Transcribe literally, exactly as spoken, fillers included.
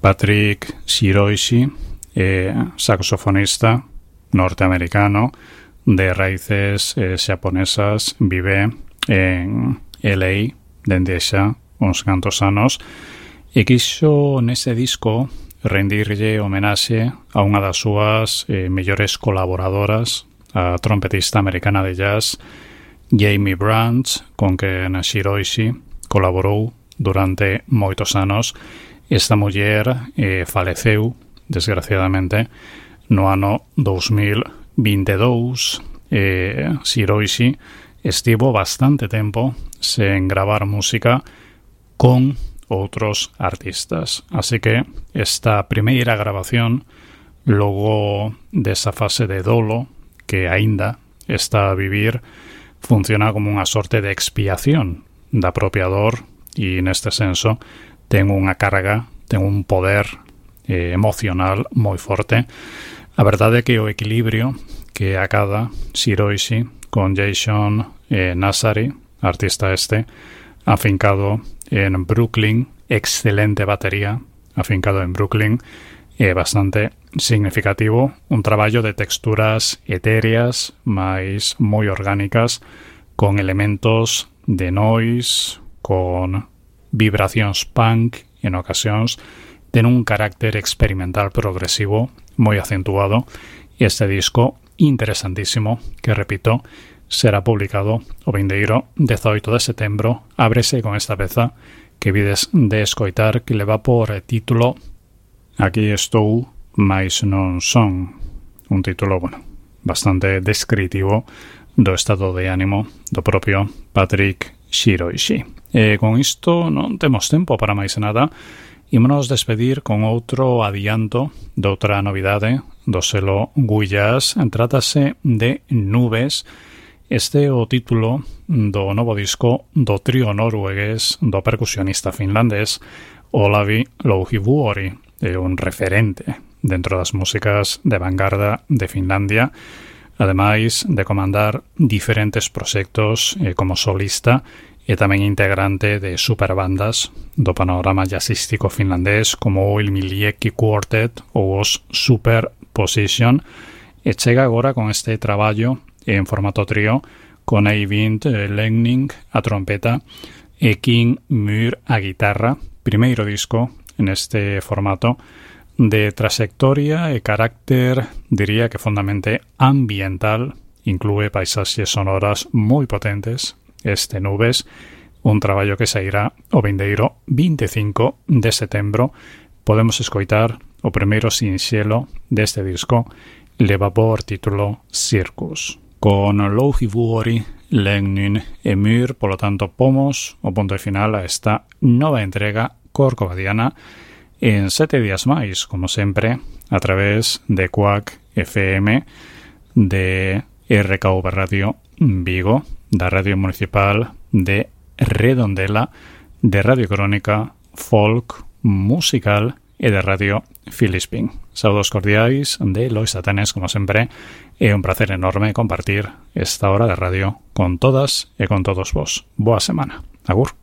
Patrick Shiroishi, eh, saxofonista norteamericano de raíces eh, japonesas, vive en L A dende xa uns cantos anos e quixo nese disco rendirlle homenaxe a unha das súas eh, mellores colaboradoras, a trompetista americana de jazz Jamie Branch, con quen Shiroishi colaborou durante moitos anos. Esta muller eh, faleceu, desgraciadamente, no ano dos mil veintidós. Eh, Shiroishi estivo bastante tempo sen gravar música con outros artistas. Así que esta primeira grabación, logo desa fase de dolo que aínda está a vivir, funciona como unha sorte de expiación da propia dor e neste senso ten unha carga, ten un poder eh, emocional moi forte. A verdade é que o equilibrio que acada Shiroishi con Jason eh, Nazari, artista este, afincado en Brooklyn, excelente batería, afincado en Brooklyn, é bastante significativo, un traballo de texturas etéreas, máis moi orgánicas, con elementos de noise, con vibracións punk en ocasións, ten un carácter experimental progresivo moi acentuado, e este disco interesantísimo, que repito, será publicado o vindeiro dezaoito de setembro. Ábrese con esta peza que vides de escoitar, que leva por título Aquí estou, mais non son. Un título, bueno, bastante descritivo do estado de ánimo do propio Patrick Shiroishi. E con isto non temos tempo para máis nada. Ímonos despedir con outro adianto de outra novidade do selo Guillas. Trátase de Nubes. Este é o título do novo disco do trío noruegués do percusionista finlandés Olavi Louhivuori, é un referente dentro das músicas de vanguarda de Finlandia, ademais de comandar diferentes proxectos eh, como solista e tamén integrante de superbandas do panorama jazzístico finlandés como o Ilmieliekki Quartet ou os Superposition, e chega agora con este traballo en formato trío con Eivind Legning a trompeta e King Myhr a guitarra. Primeiro disco en este formato de trayectoria e carácter, diría que fondamente ambiental, inclúe paisaxes sonoras moi potentes. Este Nubes, un traballo que sairá o vindeiro vinte e cinco de setembro. Podemos escoitar o primeiro sinxelo deste disco, leva por título Circus. Con Louhivuori, Legning e Myhr, polo tanto, pomos o punto final a esta nova entrega corcovadiana en sete días máis, como sempre, a través de Quack F M, de R K V Radio Vigo, da Radio Municipal de Redondela, de Radio Crónica, Folk, Musical e de Radio Filispín. Saúdos cordiais de Lois Atanes, como sempre. É un placer enorme compartir esta hora de radio con todas e con todos vos. Boa semana. Agur.